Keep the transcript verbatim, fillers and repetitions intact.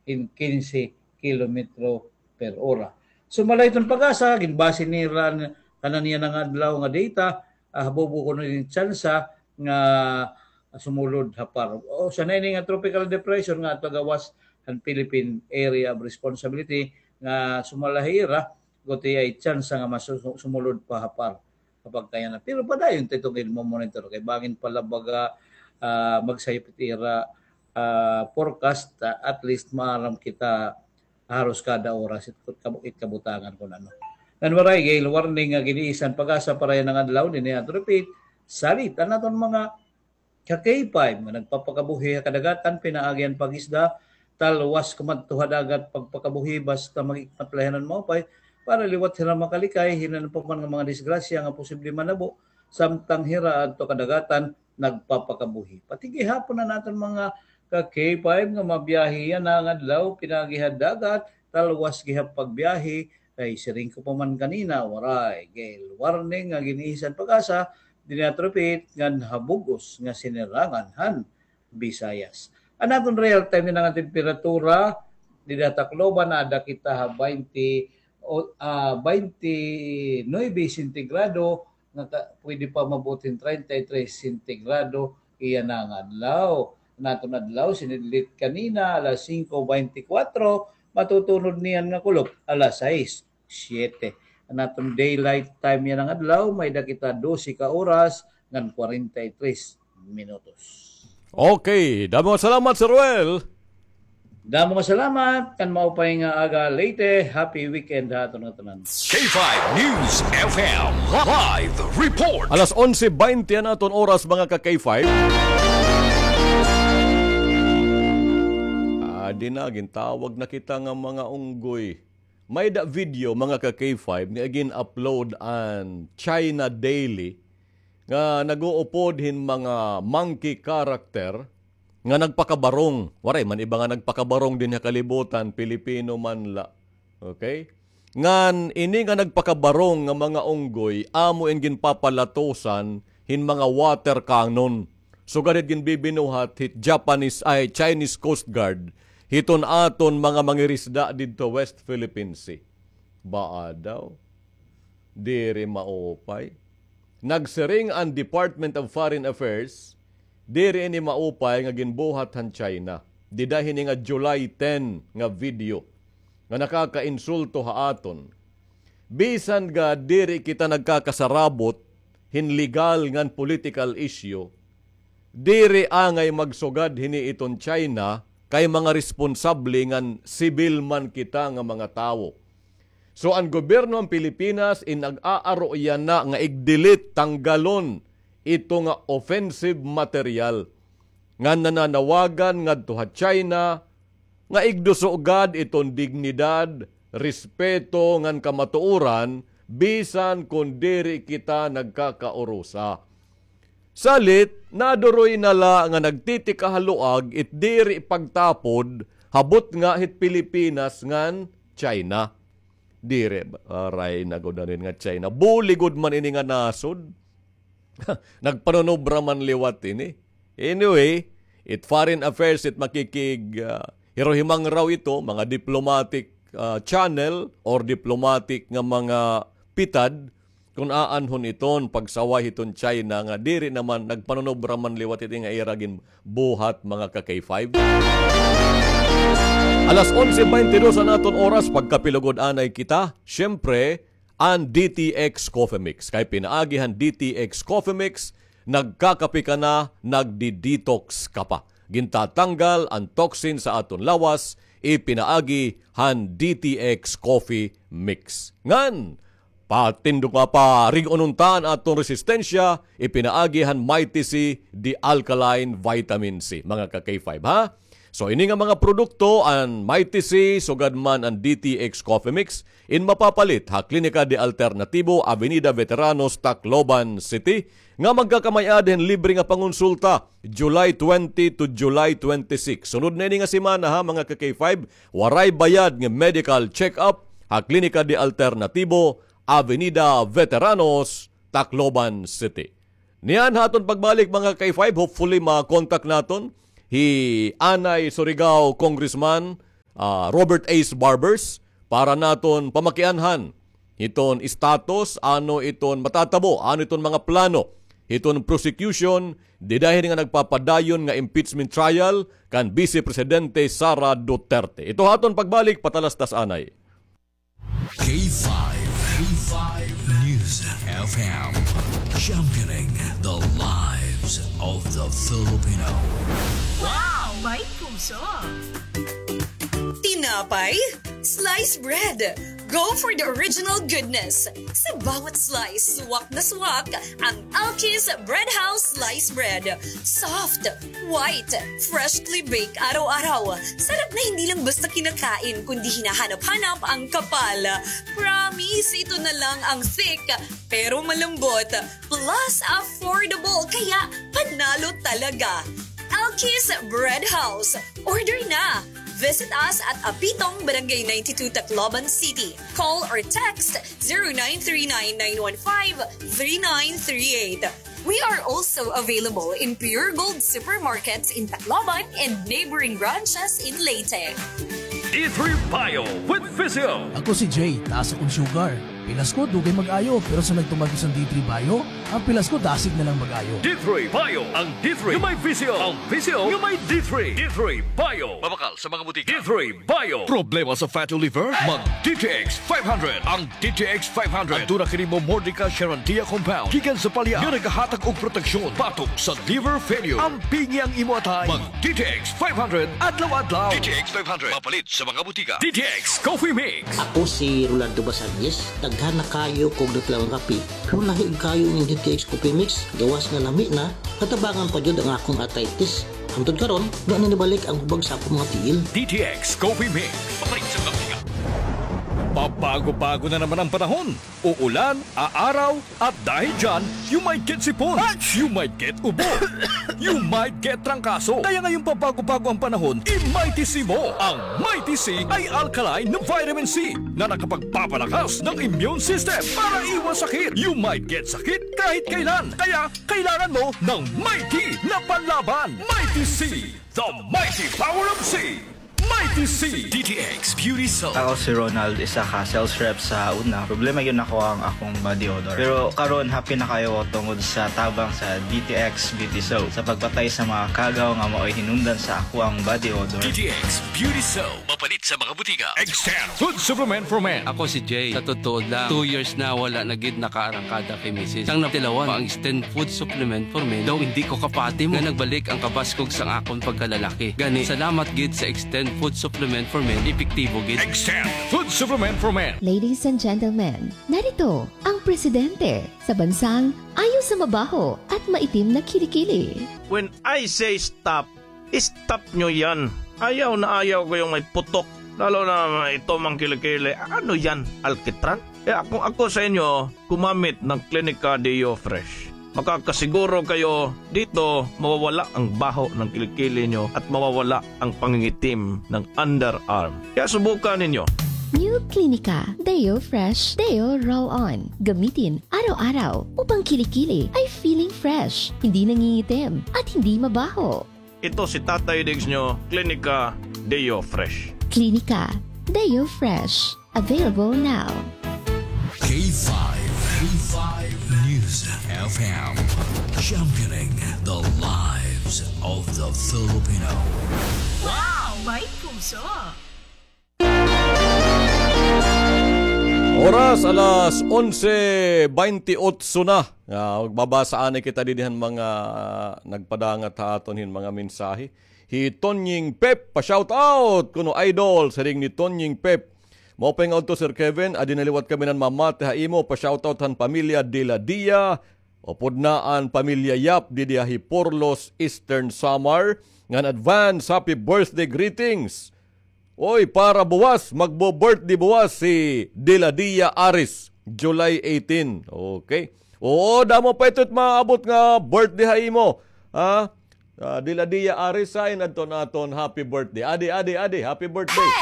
in kinse kilometro per ora. So, malayo iton PAGASA, ginbase nira an kanan yana nga adlaw nga data, ah, habubo kuno ini tsansa nga sumulod ha PAR. Usa na ini nga tropical depression nga adto ha gawas han Philippine Area of Responsibility nga sumala ha ira, gutiay tsansa nga masu-, sumulod pa ha PAR. Kapag kaya na. Pero padayon ta iton imo-monitor kay bangin pa la baga, ah, magsayop it ira, ah, forecast, ah, at least maaram kita haros kada oras it, it kabutangan kun ano. Ngan waray gale warning nga gin-iisyu han PAGASA para yana nga adlaw, dinhi aton repeat, salit an aton mga ka-K five nga nagpapakabuhi ha kadagatan, pinaagi han pag-isda, talwas kumadto ha dagat, pagpakabuhi basta mag-ikmat la hira hin maupay para liwat hira makalikay hinan pa man nga mga disgrasya nga posible manabo samtang hira adto kadagatan nagpapakabuhi. Pati gihapon an aton mga ka-K five nga mabiyahe yana nga adlaw, pinaagi ha dagat, talwas gihap pagbiyahe, kay siring ko pa man kanina, waray gale warning nga gin-iisyu han PAGASA, dinhi aton repeat, ngan ha bug-os nga sinirangan han Visayas. An aton real time yana nga temperatura, dida ha Tacloban, ada kita ha baynte, o, ah, baynte nuebe sentigrado, nga ka-, pwede pa maabot hin treinta y tres sentigrado yana nga adlaw. An aton adlaw, sinidlit kanina, alas singko baynte kwatro, matutunod niyan nga kulop, alas sais, siyete. An aton daylight time yana nga adlaw, may-ada kita dose ka oras ngan kwarenta y tres minutos. Okay, damo nga salamat, Sir Ruel. Damo nga salamat, kan maupay nga aga, Leyte. Happy weekend ha aton ngatanan. K five News F M live report. Alas onse baynte an aton oras, mga ka-K five. Ah, di na, gintawag na kita nga mga unggoy. May-ada video, mga ka-K five, nga gin-upload an China Daily nga nag-uupod hin mga monkey character nga nagpakabarong. Waray man iba nga nagpakabarong dinhi ha kalibutan, Pilipino man la. Okay? Ngan ini nga nagpakabarong nga mga unggoy, amo in ginpapalatosan hin mga water cannon. Sugad hit ginbibinuhat hit Japanese, ay, Chinese Coast Guard hiton aton mga mangirisda didto West Philippine Sea. Baa daw? Diri maupay. Nagsiring an Department of Foreign Affairs, diri ini maupay nga ginbuhat han China. Dida hini nga July ten nga video nga nakakainsulto ha aton. Bisan gad diri kita nagkakasarabot hin legal ngan political issue, diri angay magsugad hini iton China kay mga responsable ngan sibil man kita nga mga tawo. So, an gobyerno han Pilipinas in nag-aaro yana nga i-delete, tanggalon ito nga offensive material nga nananawagan ngadto ha China nga igduso gad iton dignidad, respeto ngan kamatuoran bisan kon diri kita nagkakaurusa. Salit, naduroy na la nga nagtitikahaluag it diri pagtapod ha butnga hit Pilipinas ngan China. Diri, aray na gud nga China. Buli gud man ini nga nasod. Nagpanunobra man liwat ini. Anyway, it foreign affairs, it makikig, ah, hiruhimangraw ito, mga diplomatic, ah, channel or diplomatic nga mga pitad, kun aanhon iton pagsaway hiton China nga diri naman nagpanunobra man liwat iti nga ira ginbuhat, mga ka-K five. Alas onse baynte dos an aton oras, pagkapilugod anay kita. Siyempre, an D T X Coffee Mix. Kay pinaagi han D T X Coffee Mix, nagkakape ka na, nagdi-detox ka pa. Gintatanggal an toxin sa aton lawas, ipinaagi han D T X Coffee Mix. Ngan, patindog nga parig-on unta an aton resistensya, ipinaagi han Mighty C, the alkaline vitamin C. Mga ka-K five, ha? So, ini nga mga produkto, an Mighty C, sugad man an D T X Coffee Mix, in mapapalit ha Klinika de Alternatibo, Avenida Veteranos, Tacloban City, nga magkakamay-ada hin libre nga pangonsulta, July twenty to July twenty-six. Sunod na ini nga semana, ha, mga ka-K five, waray bayad nga medical check-up ha Klinika de Alternatibo, Avenida Veteranos, Tacloban City. Niyan ha aton pagbalik, mga ka-K five, hopefully ma-contact naton hi anay Surigao Congressman ah, Robert Ace Barbers para naton pamakianhan hiton status, ano iton matatabo, ano iton mga plano hiton prosecution dida hin nga nagpapadayon nga impeachment trial kan Vice Presidente Sara Duterte. Ito ha aton pagbalik, patalastas anay. K five, K five News F M, championing the lives of the Filipino. Wow! May puso! Tinapay? Slice bread! Go for the original goodness! Sa bawat slice, swak na swak ang Alki's Bread House Slice Bread. Soft, white, freshly baked araw-araw. Sarap na hindi lang basta kinakain, kundi hinahanap-hanap ang kapal. Promise, ito na lang ang thick, pero malambot. Plus, affordable, kaya panalo talaga. Alki's Bread House. Order na! Visit us at Apitong, Barangay ninety-two, Tacloban City. Call or text zero nine three nine nine one five three nine three eight. We are also available in Pure Gold supermarkets in Tacloban and neighboring branches in Leyte. D three Bio with Physio. Ako si Jay, taas akong sugar. Pilas ko, dugay mag-ayo, pero sa nagtumag sa D three Bio, ang pilas ko, dasig na lang mag-ayo. D three Bio, ang D three nga may Physio, ang Physio nga may D three. D three Bio. Mabakal sa mga butika. D three Bio. Problema sa fatty liver? Mag D T X five hundred. Ang D T X five hundred. Aduna kini Momordica Charantia compound gikan sa palya nga nagahatag og proteksyon batok sa liver failure. Ampingi ang imo atay. Mag D T X five hundred adlaw-adlaw. D T X five hundred. Mapalit sa mga butika. D T X Coffee Mix. Ako si Rolando Basandes. Daghan na kayo kog natilawang kape. Pero lahi kaayo ining D T X Coffee Mix, gawas nga lami na, natabangan pa jud ang akong arthritis. Hangtod karon, wa na nibalik ang hubag sa akong mga tiil. D T X Coffee Mix. Papalit sa mga butika. Pabago-bago na naman ang panahon. Uulan, aaraw, at dahil dyan, you might get sipon, you might get ubo, you might get trangkaso. Kaya ngayong pabago-bago ang panahon, i-Mighty C mo. Ang Mighty C ay alkaline na vitamin C na nakapagpapalakas ng immune system para iwas sakit. You might get sakit kahit kailan. Kaya kailangan mo ng Mighty na panlaban. Mighty C, the mighty power of C. Mighty C. D T X Beauty Soap. Ako si Ronald, isa ka sales rep sa una. Problema gyud nako ang akong body odor. Pero karon, happy na kayo tungod sa tabang sa D T X Beauty Soap sa pagpatay sa mga kagaw nga mao'y hinungdan sa ako ang body odor. D T X Beauty Soap. Mapalit sa mga butika. Extend Food Supplement for Men. Ako si Jay. Sa totoo lang, two years na wala na gid nakaarangkada kay misis. Sang natilawan ang Extend Food Supplement for Men, daw hindi ko kapati mo nga nagbalik ang kabaskog sang akon pagkalalaki. Gani, salamat gid sa Extend Food Supplement for Men, epektibo gid. Extend Food Supplement for Men. Ladies and gentlemen, narito ang presidente sa bansang ayo sa mabaho at maitim na kilikili. When I say stop, stop nyo yan. Ayaw na ayaw ko yung may putok. Lalo na ito mang kilikili. Ano yan? Alkitran? Kaya kung ako sa inyo, gumamit ng Clinica Deo Fresh. Makakasiguro kayo dito mawawala ang baho ng kilikili nyo at mawawala ang pangingitim ng underarm. Kaya subukan ninyo. New Clinica Deo Fresh Deo Roll On. Gamitin araw-araw upang kilikili ay feeling fresh, hindi nangingitim, at hindi mabaho. Ito si Tatay Diggs nyo, Clinica Deo Fresh. Clinica Deo Fresh. Available now. K five, K five News F M. Championing the lives of the Filipino. Wow! May puso! Oras, alas onse baynte otso na. Ah, magbabasa anay kita didi han mga nagpadangat ha aton hin mga mensahe. Hi Tonying Pep, pa-shout out kuno, idol, siring ni Tonying Pep. Maupay nga udto, Sir Kevin, adi na liwat kami nan mamati ha imo, pa-shout out han pamilya Dela Dia, upod na an pamilya Yap didi ha Hiporlos, Eastern Samar, ngan advance happy birthday greetings. Oy, para buwas, magbo-birthday buwas si Deladia Aris, July eighteen. Okay. Oo, damo pa ito it maabot nga birthday ha imo. Ha? Ah, Deladia Aris, ha, in adton aton happy birthday. Adi, adi, adi, happy birthday.